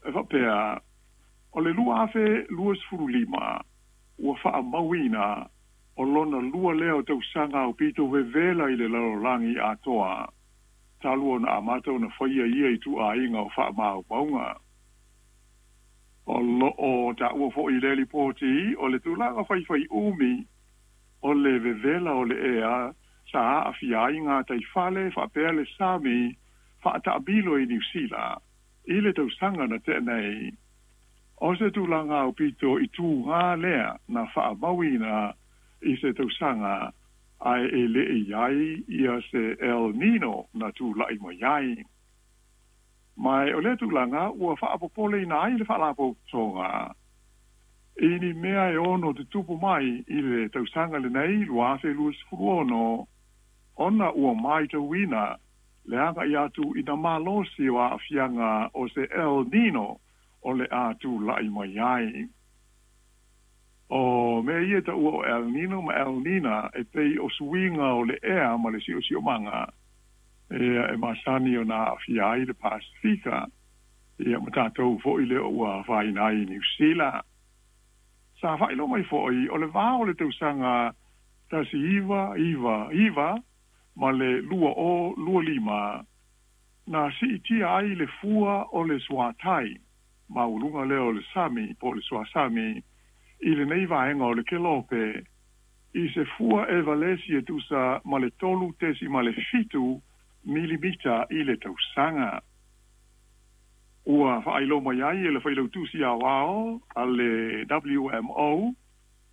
E faapea, o le 2025 ua faamauina o lona lua lea o tausaga aupito vevela i le lalolagi atoa, talu ona amata ona faia ia ituaiga o faamaumauga. O lo o taua foi i lea lipoti o le tulaga faifaiumi o le vevela o le ea sa aafia ai gataifale faapea le sami faataamilo i Niu Sila i le tausaga na tea nei. O se tulaga aupito i tugā lea na faamauina i se tausaga ae e le i ai ia se El Nino na tulai mai ai. Ma o lea tulaga ua faapopoleina ai le Faalapotopotoga i ni mea e ono tutupu mai i le tausaga lenei 2026, ona ua matauina le agai atu ina malosi o aafiaga o se El Nino o le a tulai mai ai. O mea ia e taua o El Nino ma El Nina e pei o suiga o le ea ma le siosiomaga e masani ona aafia ai le Pasefika, ia ma tatou foi lea ua afaina ai i Niu Sila. Sa faailoa mai foi o le va o le tausaga 1999 ma le 2025 na siitia ai le fua o le suatai maualuga lea o le sami po o le suasami i lenei vaega o le kelope i se fua e valesi e tusa ma le 3.7 milimita i le tausaga. Ua faailoa mai ai e le Failautusi Aoao a le WMO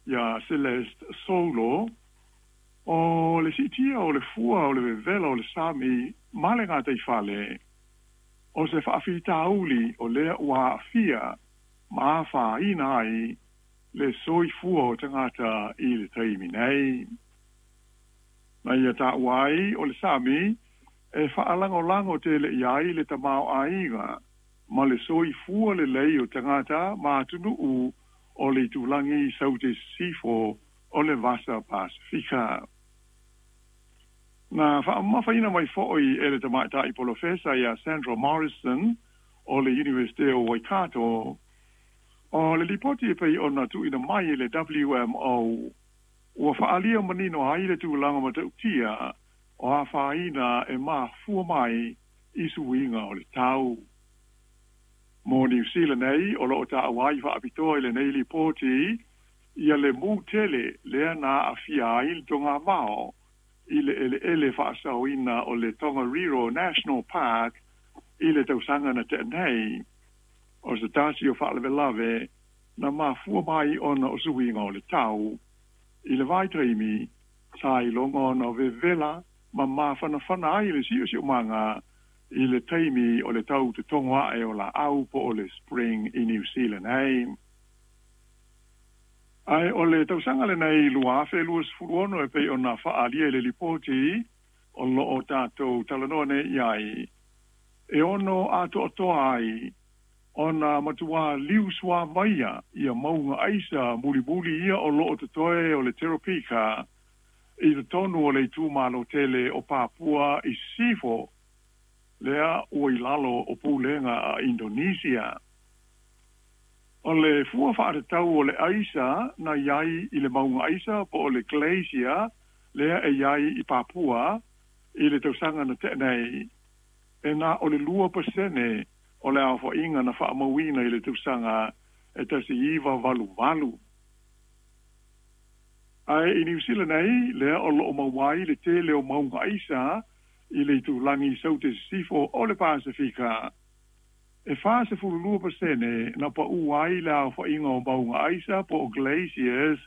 ia Celeste Saulo, o le siitia o le fua o le vevela o le sami ma le gataifale, o se faafitauli o lea ua aafia ma afaina ai le soifua o tagata i le taimi nei. Na ia taua ai o le sami e faalagolago tele i ai le tamaoaiga ma le soifua lelei o tagata ma atunuu o le itulagi saute sisifo o le Vasa Pasefika. Na faamamafaina mai foi e le tamaitai polofesa ia Sandra Morrison o le Iunivesite o Waikato, o le lipoti e pei ona tuuina mai e le WMO ua faaalia manino ai le tulaga matautia o afaina e mafua mai i suiga o le tau. Mo Niu Sila nei, o lo o taua ai faapitoa i lenei lipoti ia le mū tele lea na aafia ai le togamao i le eleele faasaoina o le Tongariro National Park i le tausaga na tea nei, o se tasi o faalavelave na mafua mai ona o suiga o le tau. I le vaitaimi, sa iloga ona vevela ma mafanafana ai le siosiomaga i le taimi o le tau totogo ae o laau po o le spring i Niu Sila nei. Ae o le tausaga lenei 2026 e pei ona faaalia i le lipoti o lo o tatou talanoa nei i ai, e ono atoatoa ai ona matuā liusuavaia ia mauga aisa mulimuli ia o lo o totoe o le Teropika i totonu o le itumalo tele o Papua i Sisifo, lea ua i lalo o pulega a Indonesia. O le fua faatatau o le aisa na i ai i le mauga aisa po o le glacier lea e i ai i Papua i le tausaga na tea nei, e na o le 2% o le aofaiga na faamauina i le tausaga e 1988. Ae i Niu Sila nei, lea o lo o maua ai le tele o mauga aisa i le itulagi saute sisifo o le Pasefika, e 42% na paū ai le aofaiga o mauga aisa po o glaciers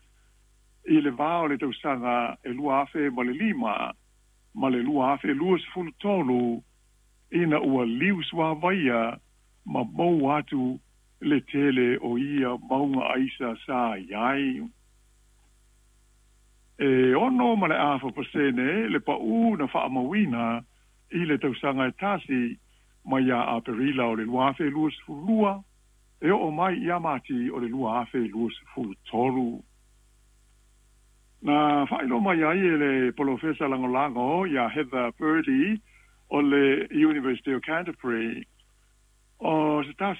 i le va o le tausaga e 2005 ma le 2023 ina ua liusuavaia ma mou atu le tele o ia mauga aisa sa i ai. E 6.5% le paū na faamauina i le tausaga e tasi mai ia Aperila o le 2022 e oo mai ia Mati o le 2023. Na faailoa mai ai e le Polofesa Lagolago ia Heather Purdy o le University o Canterbury, o se tasi